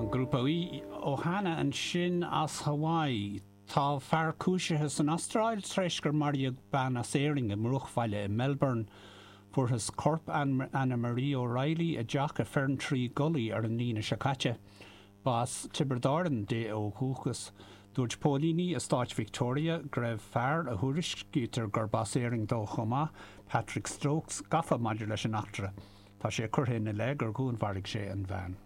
An grúpa Ohana ansin as Hawaii. Tá fear cúisithe san Astráil tar éis gur maraíodh bean as Éirinn i mbruachbhaile i Melbourne. Fuarthas corp Anna Marie O'Reilly i dteach i Ferntree Gully ar an Aoine seo caite. Ba as Tiobraid Árann di ó dhúchas. Dúirt póilíní i stáit Victoria go raibh fear, a thuairiscítear gurb as Éirinn dó chomh maith, Patrick Stokes, gafa maidir leis an eachtra. Tá sé curtha ina leith gur dhúnmharaigh sé an bhean.